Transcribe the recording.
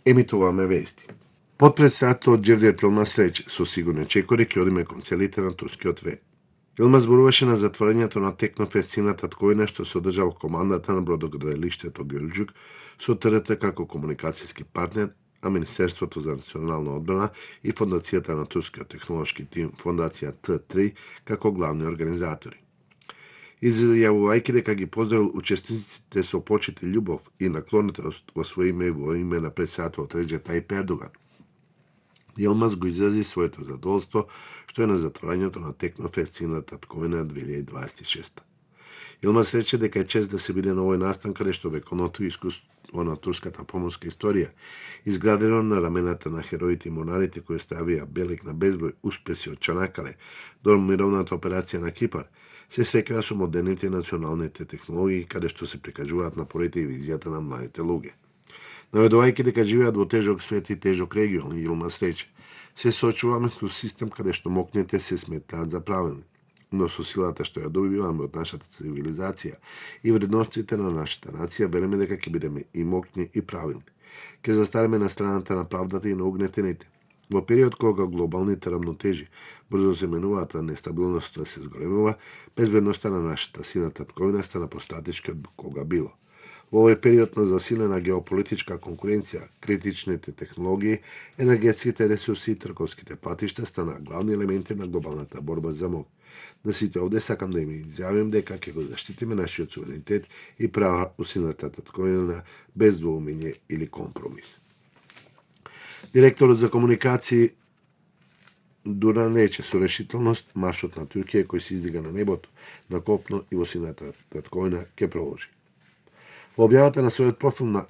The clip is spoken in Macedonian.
Емитуваме вести. Потпредседател Џевдет Илмаз рече, со сигурни чекори ќе одиме кон целите на турскиот ве. Илмаз зборуваше на затворањето на Технофест сина Татковина што се одржал командата на бродоградилиштето Ѓурѓук со ТРТ како комуникацијски партнер, а Министерството за национална одбрана и Фондацијата на турскиот технолошки тим Фондација Т3 како главни организатори. Изјавувајќи дека ги поздравил учесниците со почит и љубов и наклонетост во своје име и во име на председателот Реџеп Тајип Ердоган, Илмаз го изрази своето задоволство што е на затворањето на Технофест сина Татковина 2026. Илмаз рече дека е чест да се биде на овој настан каде што вековното искуство на турската поморска историја, изградено на рамената на хероите и монарите кои ставија белег на безброј успеси од Чанакале до мировната операција на Кипар, се секоја со модерните и националните технологии каде што се прикажуваат напорите и визијата на младите луѓе. Наведувајќи дека живеат во тежок свет и тежок регион, Илмаз рече, се соочуваме со систем каде што мокните се сметаат за правилни, но со силата што ја добиваме од нашата цивилизација и вредностите на нашата нација, вериме дека ќе бидеме и мокни и правилни. Ќе застареме на страната на правдата и на угнетените. Во период кога глобалните рамнотежи брзо се менуваат, а нестабилноста се зголемува, безбедноста на нашата сина Татковина стана постратешки од кога било. Во овој период на засилена геополитичка конкуренција, критичните технологии, енергетските ресурси и трговските патишта стана главни елементи на глобалната борба за мок. На сите овде сакам да им изјавим дека ќе го заштитиме нашиот суверенитет и права у сината Татковина без двоумење или компромис. Директорот за комуникации Дуран рече со решителност маршот на Туркија кој се издига на небото, на копно и во сината Татковина ќе продолжи. Во објавата на својот профил на